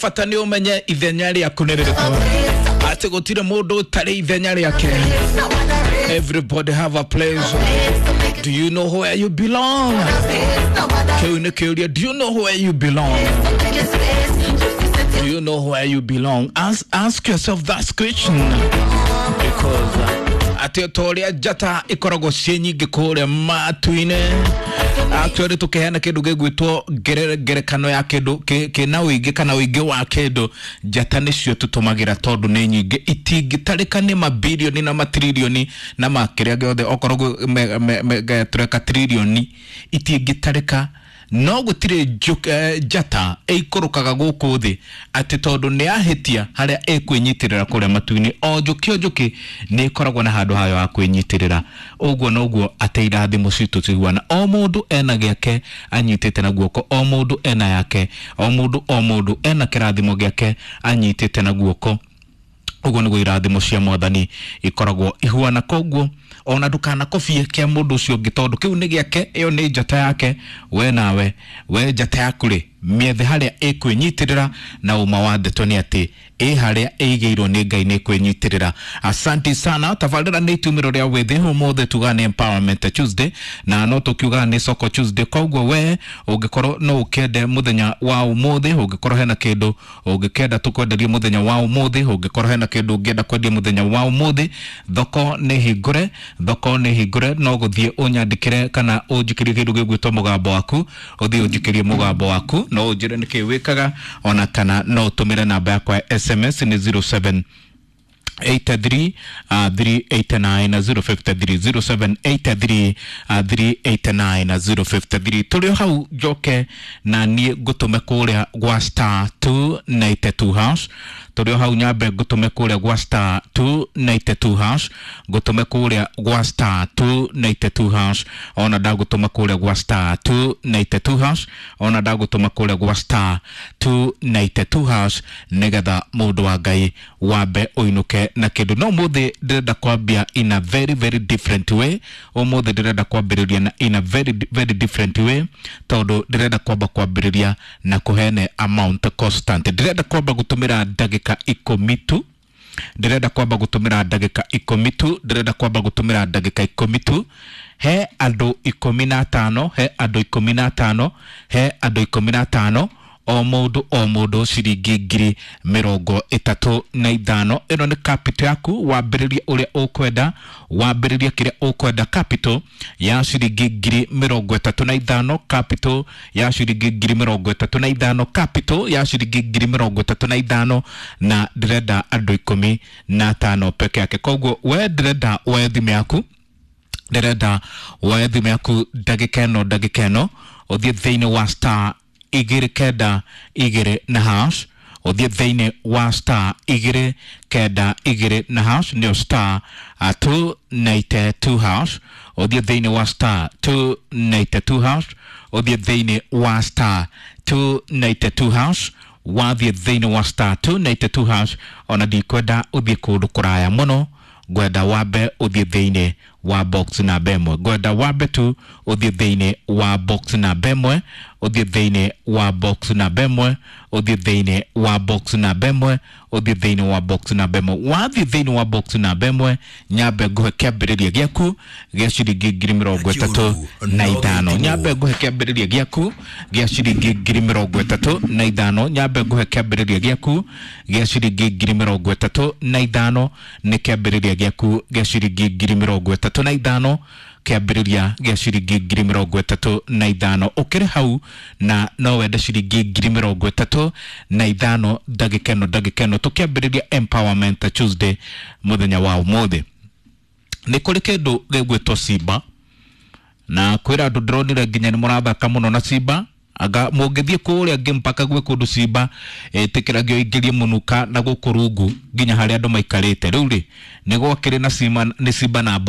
Bata nĩ ũmenye ithenya rĩaku nĩ rĩrĩkũ, atĩ gũtirĩ mũndũ ũtarĩ ithenya rĩake. Everybody have a place. Do you know where you belong? Kĩu nĩ kĩũria. Do you know where you belong? Do you know where you belong? Ask yourself that question, because atĩ ta ũrĩa njata ikoragwo ciĩ nyingĩ kũrĩa matu-inĩ, actually tũkĩheana kĩndũ gĩgwĩtwo ngerekano ya kĩndũ kĩna ũingĩ kana ũingĩ wa kĩndũ, njata nĩcio tũtũmagĩra tondũ nĩ nyingĩ, itingĩtarĩka nĩ mabilioni na matrilioni na makĩrĩa gĩothe, okorwo tũreka trilioni itingĩtarĩka. No gũtirĩ njata ĩikũrũkaga gũkũ thĩ atĩ tondũ nĩ yahĩtia harĩa ĩkwĩnyitĩrĩra kũrĩa matu-inĩ. O njũkĩ o njũkĩ nĩ ĩkoragwo na handũ hayo ha kwĩnyitĩrĩra. Ũguo noguo atĩ irathimo citũ ciguana, o mũndũ ena gĩake anyitĩte na guoko, o mũndũ ena yake, o mũndũ o mũndũ ena kĩrathimo gĩake anyitĩte na guoko. Ũguo nĩguo irathimo cia Mwathani ikoragwo ihuana. Koguo ona ndũkanakobie kĩa mũndũ ũcio ũngĩ, tondũ kĩu nĩ gĩake, ĩyo nĩ njata yake. We nawe, we njata yaku rĩ, mĩethe harĩa ĩkwĩnyitĩrĩra, na ũma wa ndeto nĩ atĩ ĩ harĩa ĩigĩirwo nĩ Ngai nĩ kwĩnyitĩrĩra. Asante sana. Tabarĩra nĩ itumĩro rĩa wĩthĩ. Ũmũthĩ tugaga nĩ Empowerment Tuesday, na no tũkiugaga nĩ Soko Tuesday. Koguo we ũngĩkorwo no ũkĩende mũthenya wa ũmũthĩ, ũngĩkorwo hena kĩndũ ũngĩkenda tũkwenderie mũthenya wa ũmũthĩ, ũngĩkorwo hena kĩndũ ũngĩenda kwendia mũthenya wa ũmũthĩ, thoko nĩ hingũre, thoko nĩ hingũre. No gũthiĩ ũnyandĩkĩre kana ũnjikĩrie kĩndũ gĩgwĩtwo mũgambo waku, ũthiĩ ũnjikĩrie mũgambo waku, no ũnjĩre nĩkĩ wĩkaga, ona kana no ũtũmĩre namba yakwa ya SMS nĩ 07 83 389 053, 0783 389 053. Tũrĩ o hau njoke na niĩ ngũtũme kũrĩa gwa star 292 hash. Tũrĩ o hau nyambe ngũtũme kũrĩa gwa star 292 hash, ngũtũme kũrĩa gwa star 292 hash. Ona ndagũtũma kũrĩa gwa star 292 hash, ona ndagũtũma kũrĩa gwa star 292 hash, nĩgetha mũndũ wa Ngai wambe ũinũke na kĩndũ. No mũthĩ ndĩrenda kwambia in a very very different way. Ũmũthĩ ndĩrenda kwambĩrĩria na in a very very different way, tondũ ndĩrenda kwamba kwambĩrĩria na kũheane amount constant. Ndĩrenda kwamba gũtũmĩra ndagĩka 10 tu, ndĩrenda kwamba gũtũmĩra ndagĩka 10 tu, ndĩrenda kwamba gũtũmĩra ndagĩka 10 tu. He andũ 15, he andũ 15, he andũ 15, o mũndũ o mũndũ ciringi 35,000. Ĩno nĩ capital yaku, wambĩrĩrie ũrĩa ũkwenda, wambĩrĩrie kĩrĩa ũkwenda. Capital ya ciringi 35,000, capital ya ciringi 35,000, capital ya ciringi 35,000, na ndĩrenda andũ 15 peke yake. Koguo we ndĩrenda woe thimũ yaku, ndĩrenda woe thimũ yaku ndagĩka ĩno, ndagĩka ĩno ũthiĩ thĩinĩ wa star 292 na hash, ũthiĩ thĩinĩ wa star 292 na hash, nĩyo star 292 hash, ũthiĩ thĩinĩ wa star 292 hash, ũthiĩ thĩinĩ wa star 292 hash. Wathiĩ thĩinĩ wa star 292 hash, ona ndikwenda ũthiĩ kũndũ kũraya mũno, ngwenda wambe ũthiĩ thĩinĩ wa box namba 1, ngwenda wambe tu ũthiĩ thĩinĩ wa box namba 1, ũthiĩ thĩinĩ wa box namba 1, ũthiĩ thĩinĩ wa box namba 1, ũthiĩ thĩinĩ wa box namba 1. Wathiĩ thĩinĩ wa box namba 1, nyambe ngũhe kĩambĩrĩria gĩaku gĩa ciringi 35,000, nyambe ngũhe kĩambĩrĩria gĩaku gĩa ciringi 35,000, nyambe ngũhe kĩambĩrĩria gĩaku gĩa ciringi 35,000. Nĩ kĩambĩrĩria gĩaku gĩa ciringi 35,000, kĩambĩrĩria gĩa ciringi 35,000. Ũkĩrĩ hau na no wende ciringi 35,000 ndagĩka ĩno, ndagĩka ĩno tũkĩambĩrĩria Empowerment Tuesday mũthenya wa ũmũthĩ, nĩ kũrĩ kĩndũ gĩgwĩtwo Simba, na kwĩra andũ ndĩronire nginya nĩ mũrathaka mũno na Simba. Anga mũngĩthiĩ kũrĩa ngĩ mpaka gwĩ kũndũ Simba ĩtĩkĩragio ingĩrie mũnuka na gũkũ rungu nginya harĩa andũ maikarĩte. Rĩu rĩ, nĩ gwakĩrĩ na Simba, nĩ Simba na